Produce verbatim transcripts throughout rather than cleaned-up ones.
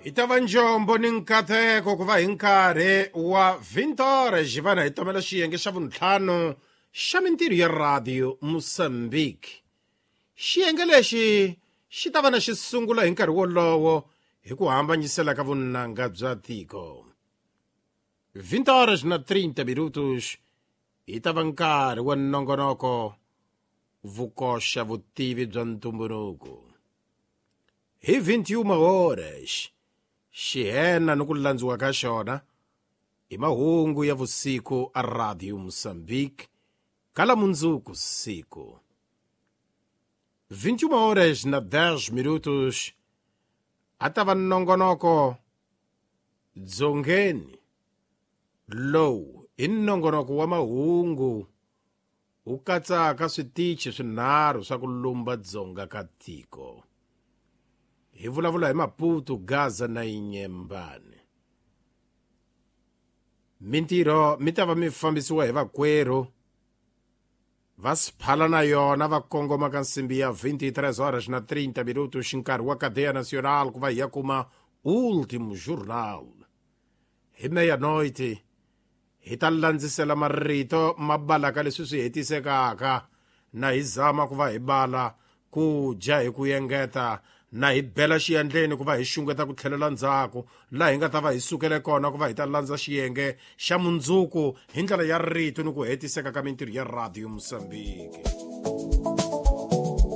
Hi ta va njombo ni nkateko ku va hi nkarhi wa vintore xivana hi tomela xiyenge xa vuntlhanu xa mintirho ya Radio Mozambique. Xiyenge lexi xi ta va na xi sungula hi nkarhi wolowo hi ku hambanyisela ka vunanga bya tiko. vinte horas na trinta minutos hi ta va nkarhi wa nongonoko vukoxa vutivi bya ntumbuluko. Hi vinte e uma horas xihena ni ku landziwa ka xona i mahungu ya vusiku a Radio Mozambique kala mundzuku siku. vinte e uma horas na dez minutos a ta va nongonoko dzongeni. Lowu i nongonoko wa mahungu wu katsaka switichi swinharhu swa ku lumba dzonga ka tiko. Hi vulavula hi Maputo, Gaza na Inyembane. Mintirho mi ta va mi fambisiwa hi vakwerhu va siphala na yona va kongoma ka nsimbi ya vinte e três horas na trinta minutos nkarhi wa Cadeia Nacional ku va hi ya kuma Último Jornal. Hi meia-noite hi ta landzisela marito ma balaka leswi swi hetisekaka na hi zama ku va hi bala ku dya hi ku engeta na hi bela xiyandleni ku va hi xungeta ku tlhelela ndzhaku laha hi nga ta va hi sukele kona ku va hi ta landza xiyenge xa mundzuku hi ndlela ya rito ni ku hetiseka ka mintirho ya Radio Mozambique.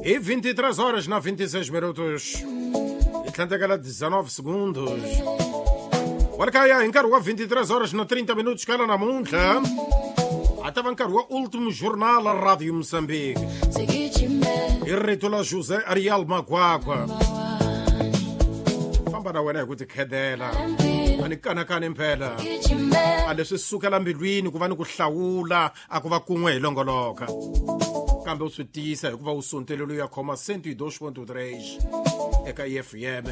Hi vinte e três horas na vinte e seis minutos hi tlhandlekela dezenove segundos. Walkaya hi nkarhi wa vinte e três horas na trinta minutos kala namuntlha a ta va nkarhi wa Último Jornal a Radio Mozambique. Hi rito la José Ariel Magwagwa. Famba na wena hi ku tikhedela a ni kanakani mpela a leswi sukela mbilwini ku va ni ku hlawula a ku va kun'we hi longoloka kambe u swi tiyisa hikuva u sontelelo ya khoma cento e dois ponto três eka F M.